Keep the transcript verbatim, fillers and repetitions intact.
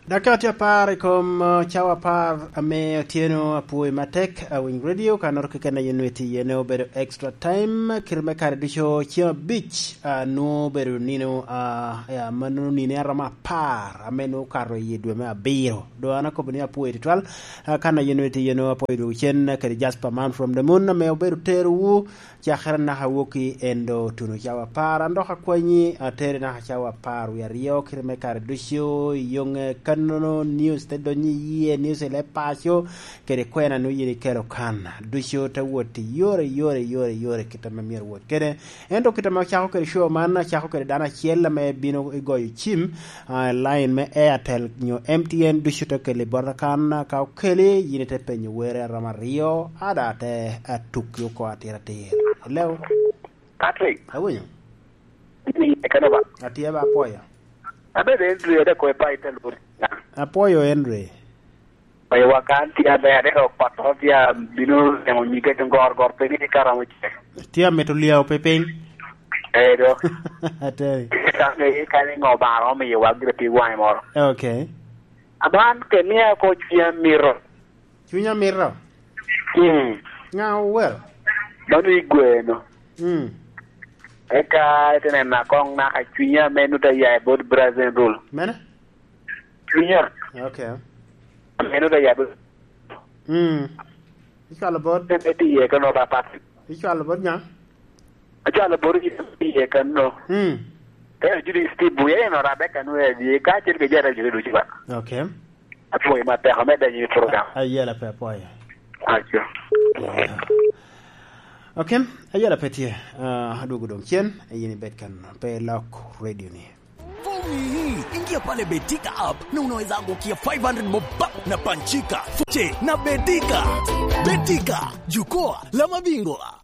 Dakika tye apar i kom, uh, cawa apar ame otyeno. Apwoyi matek, uh, Winy Radio, ka noro keken a yin nwe tye iye ne obedo extra time, kite me kare ducu ceng abic, uh, nwo obedo nino, uh, ya, ma nino nino aromo apar, ame nwo okato i dwe me abiro. Doŋ an akobo ni apwoyi tutwal, uh, kan a yin nwe tye iye ne apwoyi dwogo cen, uh, kede Jasper Man from the Moon, ame obedo terowu, cakere naka wok i endo tuno cawa apar, an dok akwanyi atere naka cawa apar wie aryo, kite me kare ducu, i yoŋe kannono, news te donyo i yie, news i leb paco, kede kwena nwo yin ikelo kan. Ducu te wot i yore, yore, yore, yore, kit ame myero wot kede. Ento kit ame ocako kede show man, acako kede dano acel ame bino i goyo cim, ah, line me Airtel nyo M T N ducu te keli bota kan, ka okeli, yin ite penyo were aromo aryo, ada te atukki oko atir atir. Hello? Patrick. Awinyo. Ni, e kano ba? Atye ba, apwoyo. Abedo Andrew, ade ko e pa ite luri. Apwoyo, Andrew. Oyo, wa kan tye aber, ade ko kot ot tye bino neno nyige tun gor gor piny, ni ka romo ce. Tye amito lyeo pe piny. Eh, do. Ateri. Ka nge ka ni ngo ba romo miyo wa gire pi waŋe moro. Okay. Aman ke mia ko cwiny amito. Cwiny amito? Mm. Ŋa owero? Mano igweno. Mm. Eka ite neno akoŋ naka cwinya ame nut aya i bot Brazil rule. Mene? Cwinya. Okay. Ame nut aya i bot. Mm. Icwalo bot? Ite iye kano ba Patrick. Icwalo bot nya? Acwalo bot iye kano. Mm. Eka Judith Steve Buya en orabbe kano e di ka acel ke jara jure ducu ba. Okay. Apwoyo matek, omedde nyim program. A-, ayela pe apwoyo. Aco. Yeah. Okay, ayela pe tye. Ah, adwogo doŋ cen, yin ibed kan pe lok radio ni. Omiyi, ingia pale Betika app na unaweza angukia five hundred bob pap na panchika. Fuche na Betika. Betika, jukwaa la mabingwa.